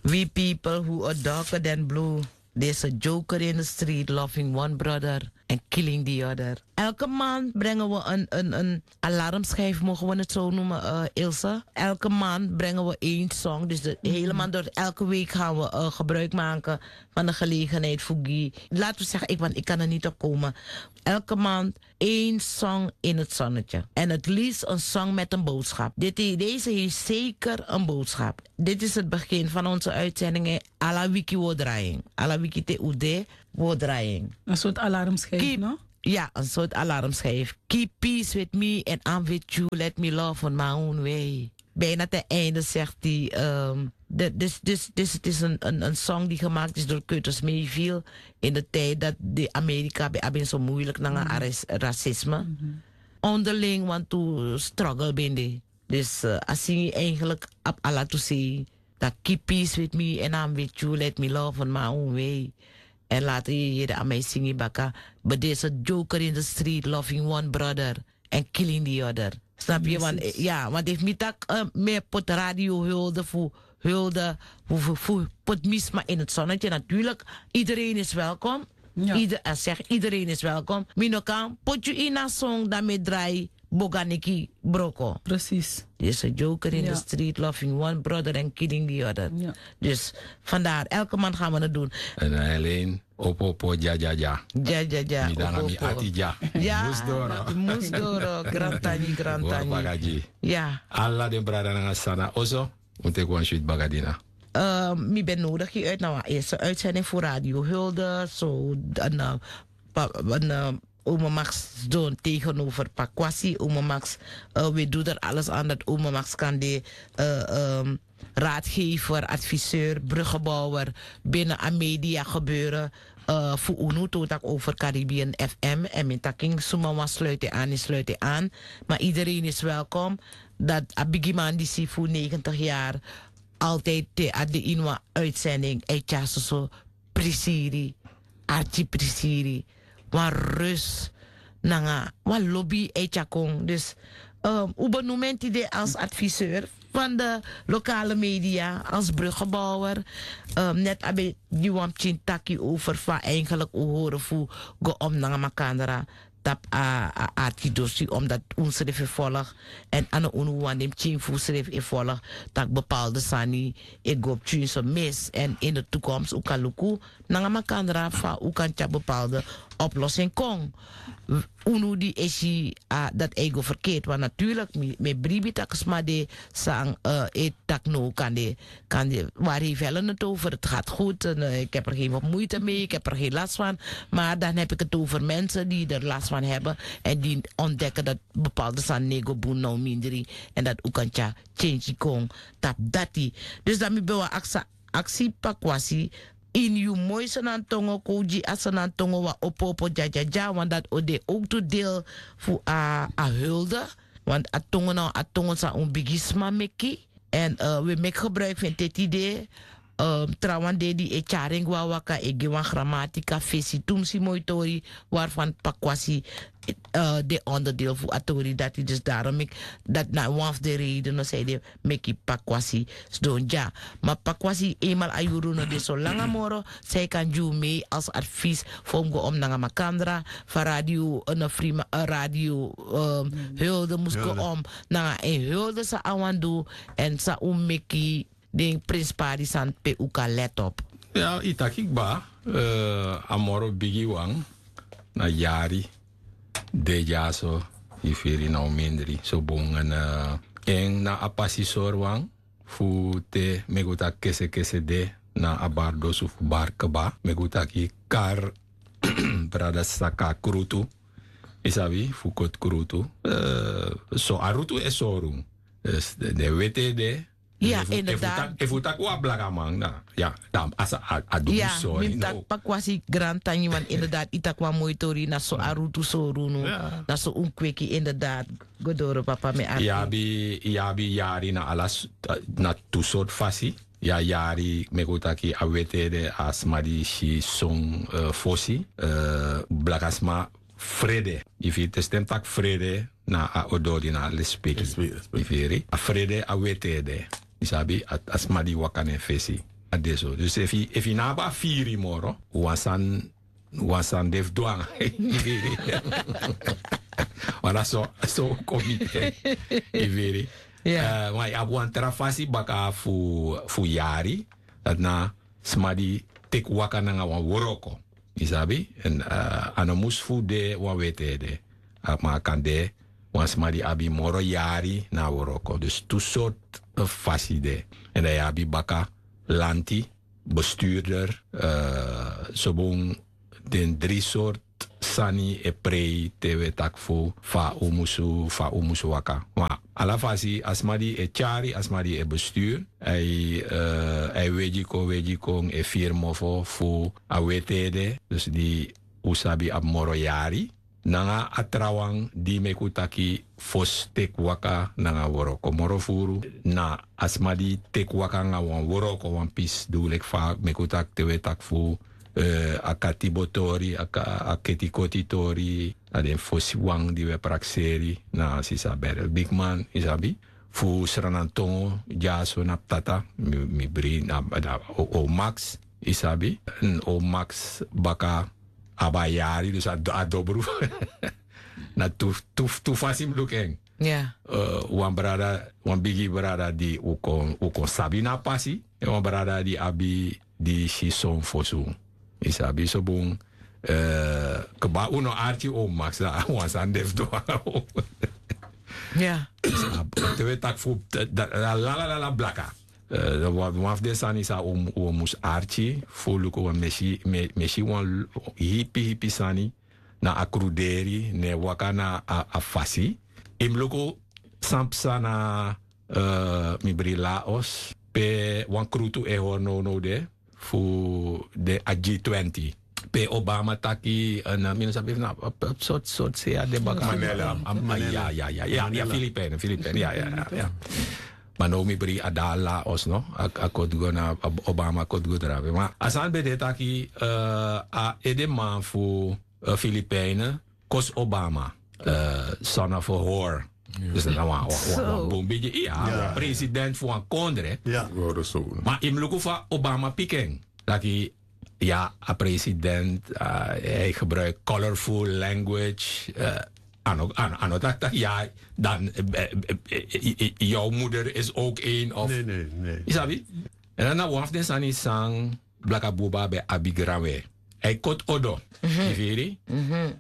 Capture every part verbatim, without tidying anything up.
We people who are darker than blue. Deze joker in the street loving one brother and killing the other. Elke maand brengen we een, een, een alarmschijf, mogen we het zo noemen, eh, Ilse. Elke maand brengen we één song. Dus de hele maand door, elke week gaan we eh, gebruik maken van de gelegenheid voor Guy. Laten we zeggen, ik, want ik kan er niet op komen. Elke maand één song in het zonnetje. En het liefst een song met een boodschap. Dit, deze heeft zeker een boodschap. Dit is het begin van onze uitzendingen. Ala wiki wo draing. Ala wiki te ude wo draing. Een soort alarmschijf, no? Ja, een soort alarmschijf. Keep peace with me and I'm with you. Let me love on my own way. Bijna ten einde zegt hij. Ehm, de- dus, dus, dus het is een, een, een song die gemaakt is door Curtis Mayfield. In de tijd dat de Amerika bij abin zo moeilijk naar racisme. Onderling want to struggle bende. Dus eh, a singi eigenlijk op ala to say dat keep peace with me and I'm with you, let me love on my own way. En later je hier aan mij singi baka, but there's a joker in the street loving one brother and killing the other. Snap je? Want, eh, ja, want heeft mi tak eh, meer pot radio hulde voor hulde, voor, voor, voor pot misma in het zonnetje. Natuurlijk, iedereen is welkom. Ieder, eh, zeg, iedereen is welkom. Mi no kan put you in a song dat me draai boganiki broko. Precies. There's a joker in the street loving one brother and killing the other. Dus vandaar, elke maand gaan we het doen. En alleen opo opo ja ja ja. Ja ja ja. Mi danga mi ati ja. Ja. Mus doro. Mus doro. Grantani, grantani. Ja. Ala den brada nanga sana oso. Un teki wan switi bagadina. Eh, mi ben nodig je uit naar een eerste uitzending voor Radio Hulde. Zo, dan, eh, pa- dan, eh, Ome Max doen tegenover Pakwasi. Ome Max, eh, we doen er alles aan dat Ome Max kan de eh, ehm, raadgever, adviseur, bruggenbouwer binnen aan media gebeuren. Eh, voor unu totak over Caribbean F M en mijn taking suma wan sluit je aan, sluit je aan. Maar iedereen is welkom. Dat a bigiman die si voor negentig jaar altijd te ade in wan uitzending. Hij tja soso prisiri, archi prisiri, wan rus, nanga wan lobby hij tja kon. Dus um, u benoem en tide als adviseur van de lokale media, als bruggenbouwer. Um, net abe die wan pikin taki over fa eigenlijk u horen fu go om nanga makandra. Tap a, a arkidosi omdat un srefi volg en ano unu wan den pikin fu srefi e volg, tak bepaalde sani e go op tjun so mis en in de toekomst u kan luku nanga makandra fa u kan tya bepaalde oplossing kon. Unu di esi a dat eigo verkeerd want natuurlijk mi bribi tak sma de sang e tak no kan de kan de waar heeft helen het over het gaat goed en ik heb er geen moeite mee, ik heb er geen last van. Maar dan heb ik het over mensen die er last van hebben en die ontdekken dat bepaalde san nego bun na un mindri en dat u kan tya change kon tap dati. Dus dan mi ben wan aksa aksi pakwasi in yu moi sanantongo kon gi a sanantongo wan opo opo dya dya dya want dat o de ook tu deel fu a a hulde. Want a tongo na a tongo san un bigi sma meki. En we meki gebruik fu en teti de trawan de di e tyari en go na waka e gi wan gramatika fesi tumsi moi tori. Warfan pakwasi de onderdeel fu a tori dati dus darom meki dati na wan fu de reide no san ede meki pakwasi. Sidon dya ma pakwasi enmal a yuru no de so langa moro. San e kan gi un mei als advies fu un go om nanga makandra fa radio no frima radio hulde mus go om nanga en hulde san a wan du. En san un meki den prinspari sani pe un kan let op. Ya yu taki kba a moro bigi wan na yari de dyaso. Yu firi na un mindri so bun en na a pasi sori wan fu te meki un taki kesekese de na a bardosu fu bari kba meki un taki kari brada saka krutu. Yu sabi fu koti krutu so a rutu e sori un. Den weti ede. Ya inderdaad. Efu un taki wan blakaman na ya dan a sa a du mi sori mi mus taki pakwasi grantangi want inderdaad yu taki wan moi tori na so a rutu sori unu. Na so un kweki inderdaad. Go doro papa mi arki. Yu abi yari na ala na tu sortu fasi. Yu a yari meki un taki a weti ede a sma di si son fosi blakasma. Frede yu firi te stem taki frede na a odori na a lespeki. Yu firi a frede a weti ede yu sabi a sma di waka na en fesi. A de so dus efu yu no abi a firi moro, wan sani de fu du nanga yu firi. Wan na so so kon miti en. Yu firi. Ma yu abi wan tra fasi baka fu yari, dati na sma di teki waka nanga wan wroko, yu sabi. A no mus fu de wan weti ede, ma a kan de wan sma di abi moro yari na a wroko. Dus tu sortu fasi de. Èn dan yu abi baka lanti, besturder, sobun. Den dri sortu sani e prei te wi e taki fu fa un musu fa un musu waka. Ma ala fasi a sma di e tyari a sma di e bestur, a e wegi kon wegi kon e firi mofo fu a weti ede. Dus di un sabi abi moro yari nanga a trawan di meki un taki fosi teki waka nanga wroko moro furu, na a sma di teki waka nanga wan wroko wan pisi du leki fa meki un taki te un e taki fu a katibo tori, a ketikoti tori. Na den fosi wan di un e prakseri na sisa berel bigman, yu sabi, fu sranantongo dyaso na ptata. Mi bri na o max, yu sabi. O max baka abi a yari dus a dobru. Na tu fasi mi luku en. Wan brada, wan bigi brada di un kon sabi na a pasi, èn wan brada di abi di si son fosun. Yu sabi so bun. Kba un no arki o max na wan sani de fu du. Te un e taki fu lalalala blaka. Wan fu den sani san un mus arki fu luku wan mesi wan hipi hipi sani na a kruderi ne waka na a fasi. Yu mus luku san psa na mi bri laos pe wan krutu e hori nownow de fu den a g twenty pe obama taki na mi no sabi fu na sortu sortu se ya de baka. Manela. Ya ya ya ya filipin filipin ya ya ya. Ma now mi bri a dala laos no a koti go na obama koti go drape ma a sani ben de taki a edeman fu filipin kosi obama. Son of a hor. Dus na wan bun bigi ya president fu wan kondre. Ma yu mus luku fa obama piki en taki ya a president hij gebruik colorful language. A no taki taki ya dan yow moeder is ook een of yu sabi. En dan na wan fu den sani san blaka buba ben abi granwe. Hij koti odo yu firi.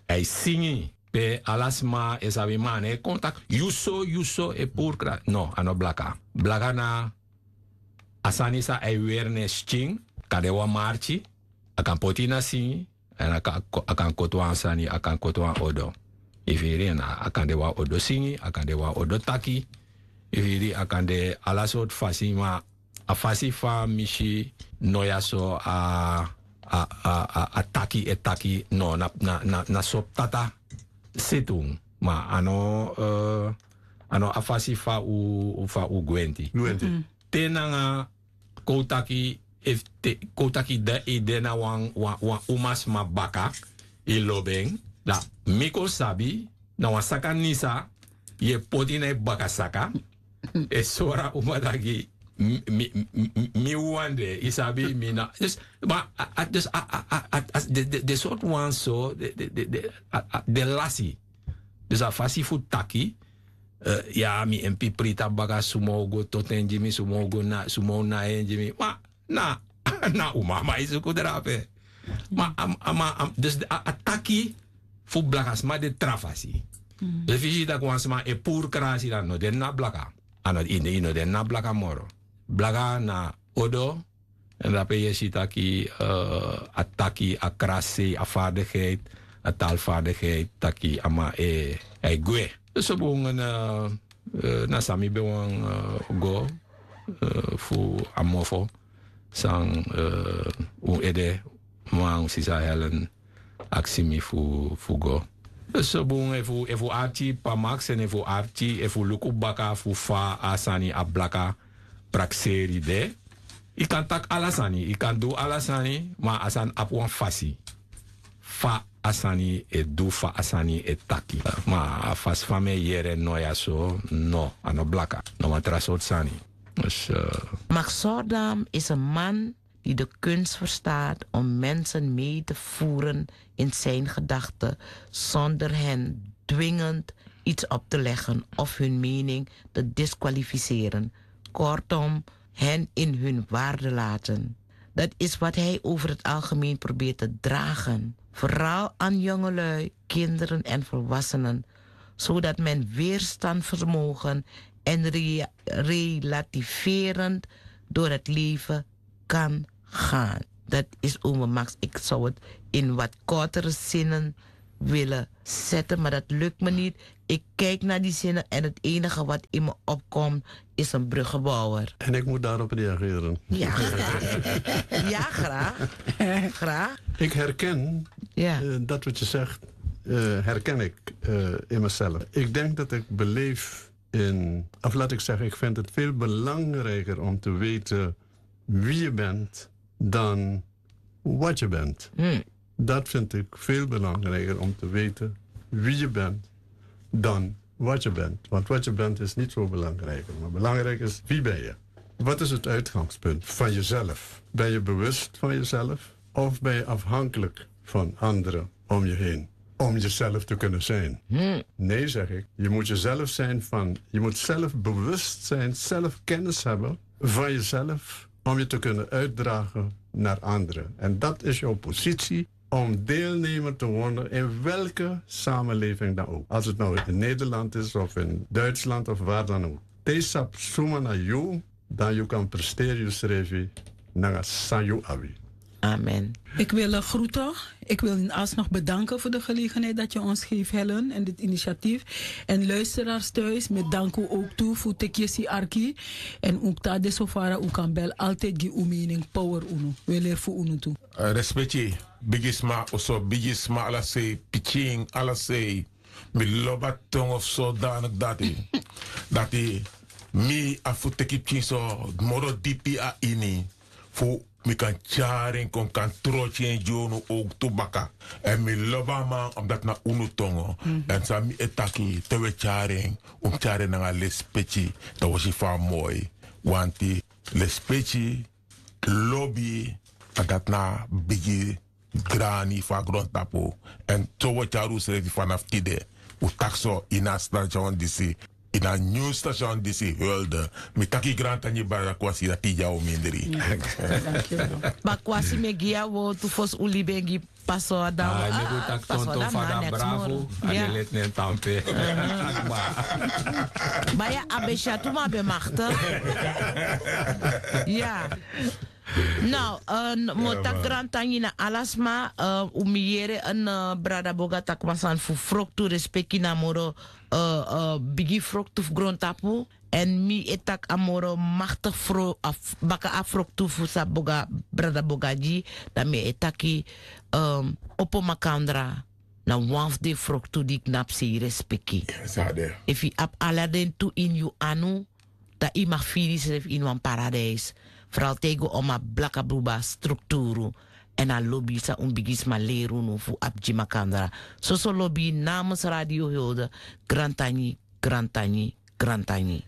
Hij singi pe ala sma e sabi ma a no e kon taki yu so yu so e puru kra no a no blaka. Blaka na a sani san a e weri na en skin. Kan de wan marki a kan poti yu na singi. Èn a kan koti wan sani a kan koti wan odo. Yu firi èn a kan de wan odo singi a kan de wan odo taki. Yu firi a kan de ala sortu fasi ma a fasi fa mi si no ya so a a a a taki e taki no na na na na so ptata. Setun ma a no a no a fasi fa u fa u gwenti. Te nanga kon u taki efu te kon u taki dan e de na wan wan wan umasma baka. Yu lobi en dan mi kon sabi na wan saka nisa yu e poti na yu baka saka. E sori a uma taki mi mi mi wan de yu sabi mi na dus ma a a dus a a a a a de de de sortu wan so de de de de a a de lasi. Dus a fasi fu taki ya mi en pipri tapu baka suma o go toti en gi mi suma o go na suma o nai en gi mi ma na na uma a man e suku drape. Ma a man a man dus a taki fu blaka sma de tra fasi. Dus fu yu si tak' wan sma e puru krasi dan no de na blaka. A no ini ini no de na blaka moro. Blaka na odo. Èn dape yu e si taki a taki a krasi a fardigheid a talfardigheid taki a man e a e gwe. So bun na san mi ben wani go fu a mofo san un ede man un sisa helen aksi mi fu go. So bun efu arki pamaksi èn efu arki efu luku baka fu fa a sani a blaka prakseri de. Yu kan taki ala sani yu kan du ala sani ma a sani abi wan fasi fa a sani e du fa a sani e taki. Ma a fasi fa mi e yere no ya so no a no blaka no wan tra sortu sani. Max sordam is a man die de kunst verstaat om mensen mee te voeren in zijn gedachten, zonder hen dwingend iets op te leggen of hun mening te disqualificeren. Kortom, hen in hun waarde laten. Dat is wat hij over het algemeen probeert te dragen. Vooral aan jongelui, kinderen en volwassenen, zodat men weerstandsvermogen en re- relativerend door het leven kan gaan. Dat is, ome Max. Ik zou het in wat kortere zinnen willen zetten, maar dat lukt me niet. Ik kijk naar die zinnen en het enige wat in me opkomt is een bruggenbouwer. En ik moet daarop reageren. Ja, graag. Ja, graag. Graag. Ik herken, ja, eh, dat wat je zegt, eh, herken ik, eh, in mezelf. Ik denk dat ik beleef in, of laat ik zeggen, ik vind het veel belangrijker om te weten wie je bent dan wat je bent. Dat vind ik veel belangrijker, om te weten wie je bent dan wat je bent. Want wat je bent is niet zo belangrijk. Maar belangrijk is, wie ben je? Wat is het uitgangspunt van jezelf? Ben je bewust van jezelf of ben je afhankelijk van anderen om je heen om jezelf te kunnen zijn? Nee, zeg ik. Je moet jezelf zijn van, je moet zelfbewust zijn, zelfkennis hebben van jezelf om je te kunnen uitdragen naar anderen. En dat is jouw positie om deelnemer te worden in welke samenleving dan ook. Als het nou in Nederland is of in Duitsland of waar dan ook. Te sap suma na yu, dan yu kan presteri yusrefi nanga san yu abi. Amen. Ik wil eh, groeten. Ik wil u alsnog bedanken voor de gelegenheid dat je ons geeft, Helen, en dit initiatief. En luisteraars thuis, met dank u ook toe voor Tekesi Arki. En ook Tade Sofara, u kan bel altijd gi uw mening power unu. We leer voor unu toe. Eh, respecti, bigisma, oso bigisma, ala sei, pikin, ala sei. Mi lobi a tongo fu sodanik dati. Dati mi abi fu teki pikin so moro dipi a ini. Fu mi kan tyari en kon, mi kan troki en gi unu ook tu baka. Èn mi lobi a man, omdat na unu tongo. Èn san mi e taki, te wi e tyari en, un mus tyari en nanga lespeki. Dan wi o si fa a moi. Wanti lespeki, lobi, a dati na bigi grani fu a grontapu. Èn so wi o tyari unsrefi fanafu tide. Un taki so, ini a station disi, ini a nyun station disi, Hulde. Mi taki grantangi, brada Kwasi, dati yu o mindri. Dankjewel. Ma Kwasi, mi e gi yu a wortu fosi un libi en gi Paso a damo. Ai, mi go taki tonton fada bravo. A de leti nen tampe. Ma ya, a ben syatu, ma a ben makti. Ya. Now, eh, mi o taki grantangi na ala sma, eh, un mi yere, eh, brada Boga taki wan sani fu froktu, respeki na moro, eh, eh, bigi froktu fu grontapu. Èn mi e taki a moro makti fro-, a f-, baka a froktu fu san Boga, brada Boga gi, dan mi e taki, eh, opo makandra na wan fu den froktu di knapu sei respeki. Efu yu abi ala den tu ini yu anu, dan yu mag firi yusrefi ini wan paradijs. Fral te yu go omo a blaka bruba strukturu èn a lobi san un bigisma leri unu fu abi gi makandra. Soso lobi namens Radio Hulde, grantangi, grantangi, grantangi.